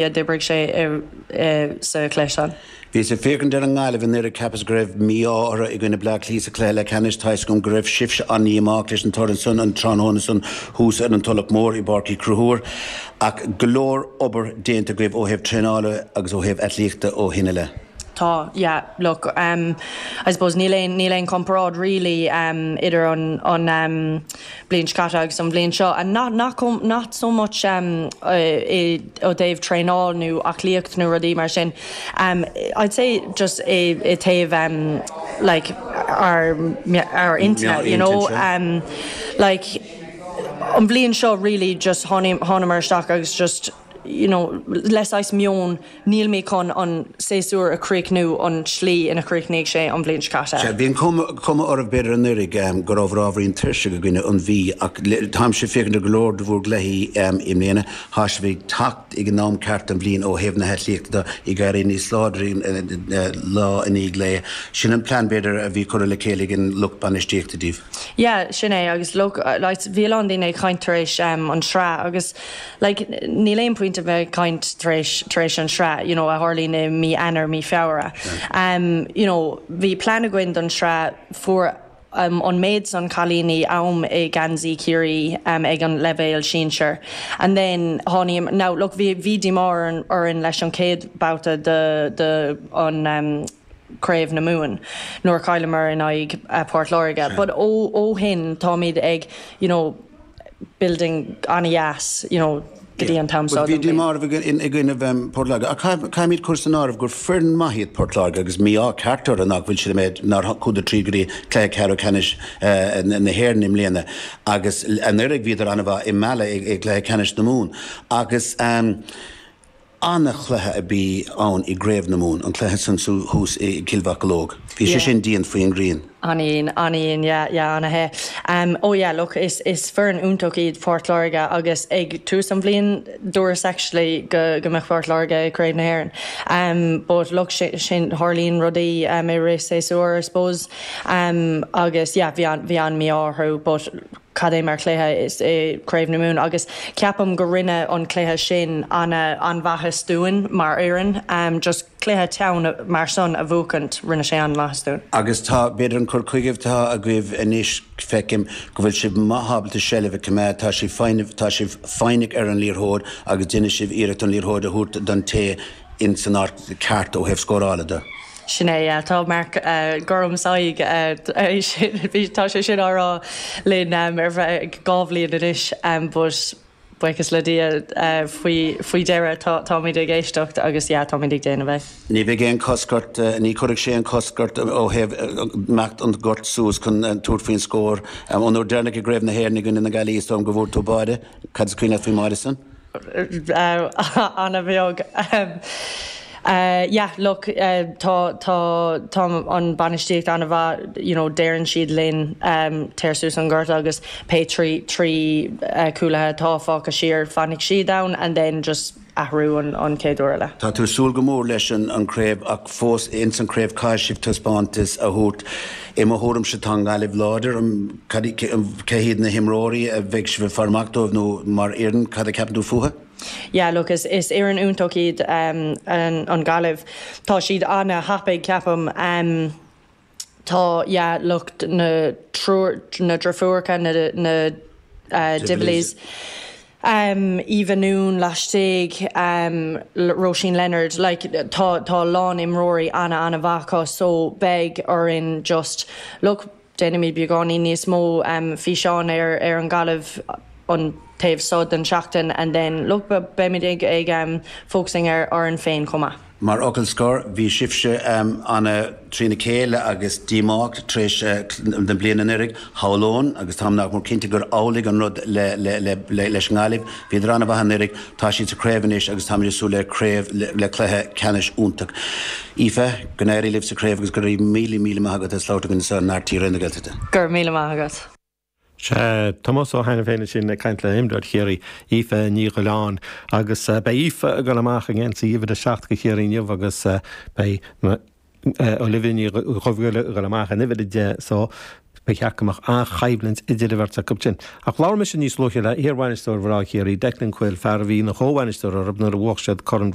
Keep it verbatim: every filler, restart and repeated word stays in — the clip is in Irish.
D'oibrigh sé sa chluiche san. Bhíos ag féachaint ar an nGaillimh anuraidh, cheapas go raibh mí-ádh orthu i gcoinne Bleá Cliath sa chluiche leathcheannais. Tá 'fhios agam go raibh sibhse an-dhíomách leis an toradh san an tráthnóna san thuas ar an Tulach Mhór i bPáirc Uí Chonchúir. Ach go leor obair déanta agaibh ó thaobh traenála agus ó thaobh aclaíochta ó shin i leith. Tá, yeah, look, um, I suppose níl aon níl aon comparáid really um, idir an an um, bliain seo caite agus an bhliain seo and not not com not so much um, uh, i ó dtaobh traenáil nó aclaíocht nó rudaí mar sin. Um, I'd say just i i taobh um, like our our internet, you know, um, like an bhliain seo really just thángamar isteach agus just you know, le saghas meon níl mé chun an séasúr a chríochnú an slí ina chríochnaigh sé an bhliain seo caite. Bhí an cuma oraibh b'fhéidir anuraidh go raibh ábhairín tuirseach i gcoinne an Mhí ach táimse ag féachaint ar go leor de bhur gcluichí i mbliana tá sibh ag teacht ag an am ceart an bhliain ó thaobh na haclaíochta ag éirí níos láidre lá i ndiaidh lae. Sin an plean b'fhéidir a bhí curtha le chéile ag an lucht bainistíochta daoibh. Yeah, sin é agus look, like, bhí a lán daoine ag caint tar éis um, an sraith agus like, níl aon point a bheith caint tar éis tar éis an sraith you know, a tharlaíonn i mí Eanáir mí Feabhra. Um, you know, bhí plean againn don sraith fuair um, an méid san cailíní am i geansaí Chiarraí um, ag an leibhéal sinsir. And then tháinig now look bhí bhí díomá orainn leis an chéad babhta de, de an um, Craobh na Mumhan nuair chailleamar in aghaidh uh, Port Láirge. But ó ó shin táimid ag you know, building an-dheas you know, go dtí an t-am seo. Bhí díomá i gcoinne Port Láirge. Caithfimid cur san áireamh gur foireann maith iad Port Láirge agus mí-ádh ceart orthu nach bhfuil siad méid nár chuadar tríd go dtí cluiche ceathrú ceannais na hÉireann i mbliana agus anuraidh bhíodar an-mhaith i Mala i gcluiche ceannais na Mumhan agus um, an-chluiche a bhí ann i gCraobh na Mumhan an cluiche san thuas i gCill Mhocheallóg. Bhí sé sin dian faoin ngrian. An-dian an-dian yeah an-the. Um, oh yeah, look, is, is foireann iontach iad Port Láirge agus ag tús an bhliain dúras actually go, go mbeadh Port Láirge Craobh na hÉireann. Um, but look sin, sin tarlaíonn rudaí um, i rith séasúr I suppose um, agus yeah, bhí an, bhí an mí-ádh orthu but cad é mar chluiche is é Craobh na Mumhan agus ceapaim go rinne an cluiche sin an an-mhaitheas dúinn mar fhoireann um, just cluiche teann mar san a bhuachaint rinne sé an-mhaitheas dúinn. Agus tá b'fhéidir an cur chuige atá agaibh anois feicim go bhfuil sibh maith ábalta seilbh a choimeád tá sibh tá sibh foighneach ar an liathróid agus déanann sibh iarracht an liathróid a thabhairt don té in san áit ceart ó thaobh scórála de. Sin é tá Mark uh, Gorm saig tá sé sin á rá linn um, ar feadh dhá bhliain anois um, but buíochas le Dia uh, faoi faoi dheireadh táimid ag éisteacht agus yeah, táimid ag déanamh é. Ní bheidh aon cosc ort ní chuirfidh sé an cosc ort ó thaobh imeacht an gort suas chun tabhairt faoin scór an uair dheireanach i gCraobh na hÉireann i gcoinne na Gaillimhe is dóigh go bhfuair tú báide cad is cuimhin faoin mbáide san? An-bheag. Um, Uh, yeah, look, uh, tá tá tá an bainistíocht an-mhaith you know, deireann siad linn um, téir suas an gort agus pé trí trí uh, cúlaithe atá fágtha siar fanfaidh siad ann and then just athrú an, an chéad uair eile. Tá tú súil go mór leis an an craobh ach fós ins an craobh caithfidh sibh taispeántas a thabhairt i mo thuairimse tá an Ghaillimh láidir cé hiad na himreoirí a bheidh sibh ag faire amach dóibh nó mar fhoireann cad a cheapann tú fúthu? Yeah, look, is, is fhoireann iontach iad um, an, an Ghaillimh. Tá siad an-thapaidh ceapaim um, tá yeah, look, na triúr na deirfiúracha na, na uh, Divillies. Um, Eva Noon laistigh um, Roisin Leonard like, tá tá lán imreoirí an- an-mhaith acu so beidh orainn just look déanaimid beagáinín níos mó um, físeán ar ar an Ghaillimh an taobh seo den seachtain and then look beimid ag ag um, focusing ar ar an féin chomh maith. Mar fhocal scoir bhí sibhse um, ana trína chéile agus díomách tar éis uh, den bliain anuraidh shamhlóinn agus táim nach mór cinnte gur amhlaidh an rud le, le, le, le, leis an nGaillimh, Bhíodar an-mhaith anuraidh tá siad sa craobh anois agus táimid ag súil le craobh le, le cluiche ceannais iontach. Aoife, go n-éirí libh sa craobh agus go raibh míle míle maith agat as labhairt linn anseo ar R T na Gaeltachta. Gur míle maith agat. Sé Tomás Ó hAiniféin sin ag caint le himreoir Chiarraí Aoife Ní Ghiolláin agus uh, beidh Aoife ag dul amach i ngeansaí uimhir a seacht do Chiarraí inniu agus uh, beidh Olivia Ní Dhubhghaill ag dul amach in uimhir a deich so Ba cheart go mbeadh an-choimhlint idir an bheirt acu sin. Ach labhair mise níos luaithe le hiarbhainisteoir mhná Chiarraí, Declan Quill, fear a bhí ina chomhbhainisteoir orthu nuair a bhuaigh siad Corn